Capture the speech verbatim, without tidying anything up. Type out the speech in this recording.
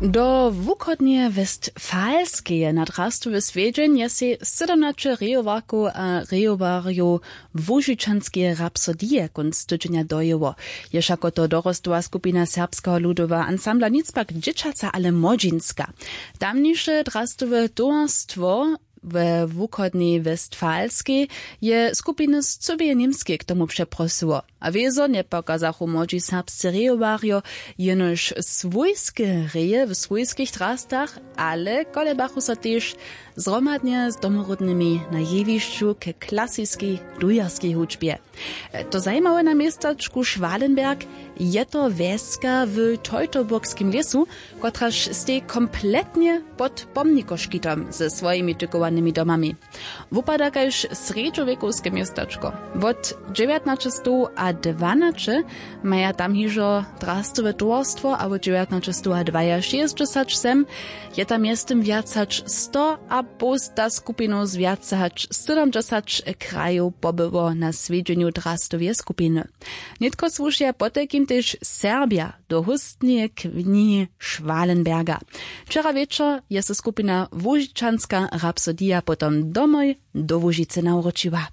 Do wuchodneje westfalskeje na drastowy swjedźeń je sej sydomnaće rejowarkow a rejowarjow łužičanskeje rapsodije kónc tydźenja dojěło. Je wšako to dorostowa skupina serbskeho ludoweho ansambla nic pak dźěćaca ale młodźinska. Tamniše drastowe towarstwo we wuchodnej westfalskej je skupiny z cyłeje němskej k tomu přeprosyło. A wězo njepokazachu młodźi serbscy rejowarjo jenož swójske reje w swójskich drastach, ale kolebachu so tež zhromadnje z domoródnymi na jewišću k klasiskej dujerskej hudźbje. To zajimawe na městačku schwalenberg je to wjeska w teutoburgskim lěsu, kotraž stej kompletnje pod pomnikoškitom ze swojimi tykołanymi domami. Wupada kaž srjedźowěkowske městačko. Wot dźewjatnaćestow a dwanaće maja tam hižo drastowe towarstwo a wot dźewjatnaćestow a dwajašěsćdźesać sem je tam mjeztym wjac hač sto a połsta skupinow z wjace hač sydomdźesać krajow pobyło na swjedźenju drastoweje skupiny. Nětko słušeja potajkim tež serbja do hóstneje knihi schwalenberga. Wčera wječor je so skupina łužičanska rapsodija potom domoj do łužicy nawróčiła.